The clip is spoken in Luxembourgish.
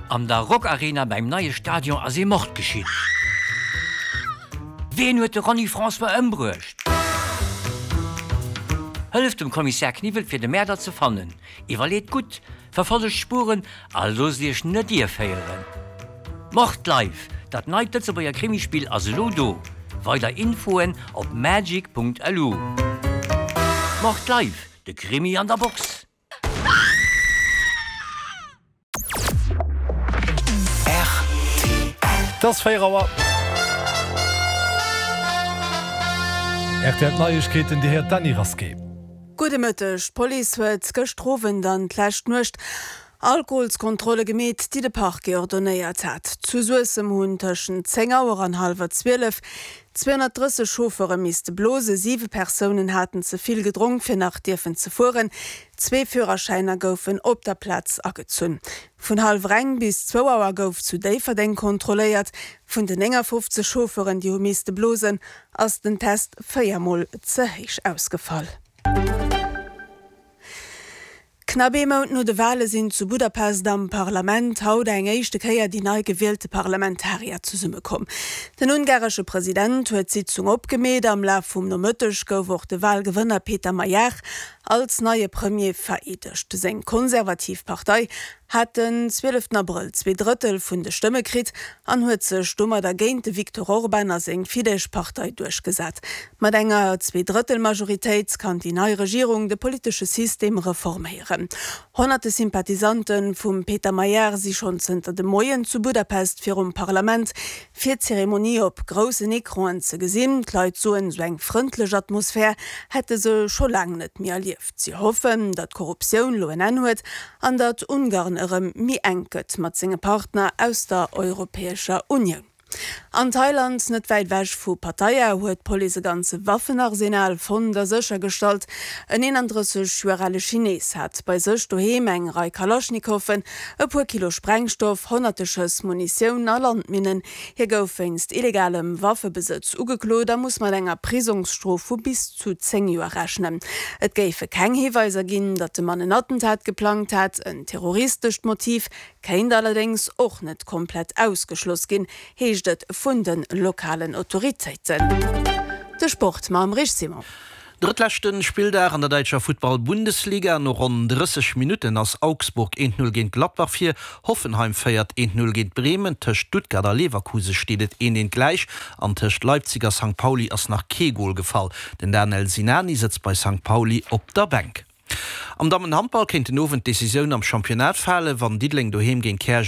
An der Rockarena beim neie Stadion ass ee Mord geschitt. Ween huet de Ronny François ëmbruecht? Hëlleft dem Kommissär Kniwwel fir de Mäerder ze fannen. Iwwerleet gutt, verfollegt d'Spuren a loosst iech net ierféieren. Mord Live, dat neit Lëtzebuerger Krimispill ass elo do. Weider Infoen op magic.lu. Mord Live, de Krimi an der Box! Et ass 4 Auer. Rtl Neiegkeeten, Dir héiert d'Dany Rasqué. Gudde Mëtteg. D'Police huet gëschter Owend an d'lescht Nuecht Alkoholskontrolle gemeet, déi de Parquet ordonéiert hat. Zu Suessem hunn tëschent 10 Auer an hallwer 12 230 Chauffeure misste blose. Siwe Persounen haten ze vill gedronk, fir nach dierfen ze fueren. Zwee Führerschäiner goufen op der Plaz agezunn. Vun hallwer eng bis zwou Auer gouf zu Déifferdeng kontrolléiert. Vun den 59 Chauffeuren, déi hu misste blosen, ass den Test 4 Mol ze héich ausgefall. Knapp ee Mount no de Wale sinn zu Budapest am Parlament haut eng éischte Kéier déi nei gewielte Parlamentarier zesummekomm. Den ungaresche President huet d'Sitzung opgemeet. Am Laf vum Nomëtteg gouf och de Walgewënner Peter Magyar als neie Premier vereedegt. Seng konservativ Partei hat den 12 Abrëll zweedrëttel vun de Stëmme kritt an huet sech domadder géint de Viktor Orban a seng Fidesz-Partei duerchgesat. Mat enger Zweedrëttelmajoritéit kann déi nei Regierung de politesche System reforméieren. Honnerte Sympathisante vum Peter Magyar si schonn zënter dem Moien zu Budapest virum Parlament, fir d'Zeremonie op groussen Ecranen ze gesinn. D'Leit soen, esou eng frëndlech Atmosphär hätte se scho laang net méi erlieft. Si hoffen, datt d'Korruptioun lo en Enn huet an datt Ungarn erëm méi enk gëtt mat senge Partner aus der Europäescher Unioun. An Thailand, net wäit ewech vu Pattaya, huet d'Police e ganze Waffenarsenal fonnt a séchergestallt. En 31 Joer ale Chines hat bei sech doheem eng Rei Kalaschnikoffen, e puer Kilo Sprengstoff, honnerte Schëss Munitioun a Landminnen. Hie gouf wéinst illegalem Waffebesëtz ugeklot a muss mat enger Prisongsstrof vu bis zu 10 Joer rechnen. Et géife keng Hiweiser ginn, datt de Mann en Attentat geplangt hätt. En terroristescht Motiv kéint allerdéngs och net komplett ausgeschloss ginn, heescht et vun de lokalen Autoritéiten. De Sport mam Rich Simon. Drëttleschten Spilldag an der däitscher Futtball-Bundesliga. No ronn 30 Minutten ass Augsburg 1, 0 géint Gladbach vir, Hoffenheim féiert 1, 0 géint Bremen, tëscht Stuttgart a Leverkuse steet et 1, 1 gläich an tëscht Leipzig a Sankt Pauli ass nach kee Gol gefall. Den Danel Sinani sëtzt bei Sankt Pauli op der Bänk. Am Dammenhandball kéint den Owend d'Decisioun am Championnat falen, wann Diddeleng doheem géint Käerjeng.